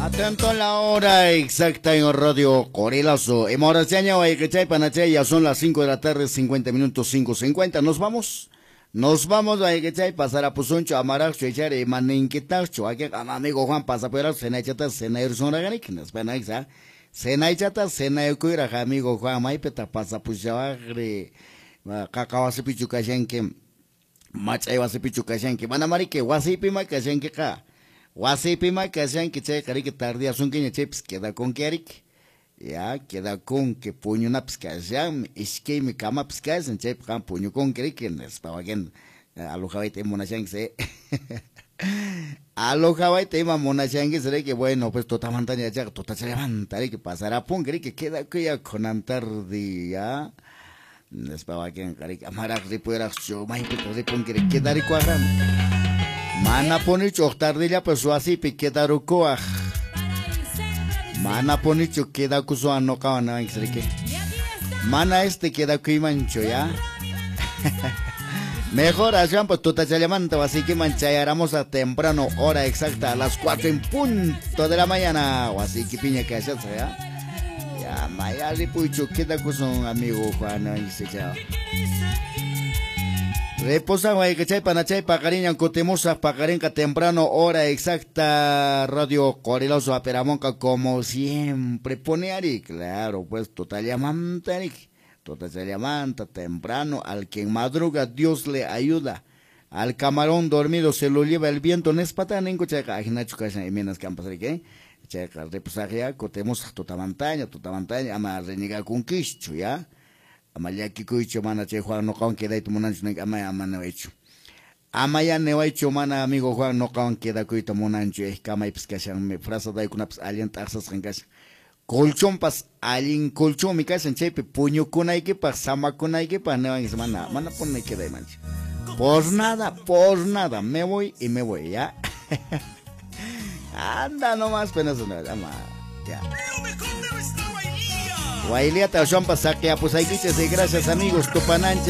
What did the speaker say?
Atento a la hora exacta en Radio Qorilazo. Emoraciaña wayqichay panachay, ya son las 5 de la tarde, 50 minutos, 5:50. Nos vamos. Nos vamos, wayqichay, pasarapusunchu, amaraqchu, ichari, imaninkitarchu. Aquí, amigo Juan, pasapueraq, cenaychata, cenayursunraqarik, nispa, cenaychata, cenayukuyraq, amigo Juan, maypita pasapushawaqri, qaqa wasipichu kashanki, mach'ay wasipichu kashanki, mana mariki, wasipima kashankiqa. Wasipima kashanki chayqa riki tardiasunkiña chaypis quedakunki ariki. Ya, quedakunki puñunapis kashanmi, iskaymi kamapis kashan, chaypi qam puñukunki riki, nispa wakin alojawayta ima munashanki, alojawayta ima munashankis riki, bueno, pues tutamantaña chayqa tutachallamanta riki pasarapunki riki, quedakuya kunan tarde, ya. Nispa wakinqa riki, amaraq ripuraqchu, maypitaq ripunki riki, quedarikuaqrami. Mana punichu huk tardillapas wasipi quedarukuwaq. Mana punichu quedakusuwan nuqawan niwanchis riki. Mana este quedakuymanchu, ya. Mejor aswanpas tutachallamanta wasiykiman chayaramusaq temprano, hora exacta a las 4 en punto de la mañana. Wasiykipiña kashasaq, ya. Ya, maya ripuychu quedakusun amigo Juan, niwanchis, chao. Reposan wayqichay panachay paqariñan kutimusaq paqarinqa temprano, hora exacta, Radio Qorilazo aperamonqa como siempre pone ari, claro, pues totallamanta ari, totallamanta temprano, al quien madruga Dios le ayuda, al camarón dormido se lo lleva el viento, nespata ningu chayqa ajinachu kashan imaynas kampas riki, chayqa reposaq ya kutimusaq tutamantaña, tutamantaña ama renegakunkischu, ya. Ama llakikuychu mana chay Juan nuqawan quedayta munanchu ninki, ama ama niwaychu. Ama ya niwaychu mana amigo Juan nuqawan quedakuyta munanchu, kamaypis kashanmi, frazadaykunapas allin t'aqsasqan kashan. Colchonpas allin colchonmi kashan, chaypi puñukunaykipaq, samakunaykipaq niwanchis, mana, mana puni quedaymanchu. Por nada, me voy y me voy, ya. Anda nomás, penoso, no, ama, ya. Wailiata, Juan Pasaque, apusaykichis, y gracias amigos, tupananchis.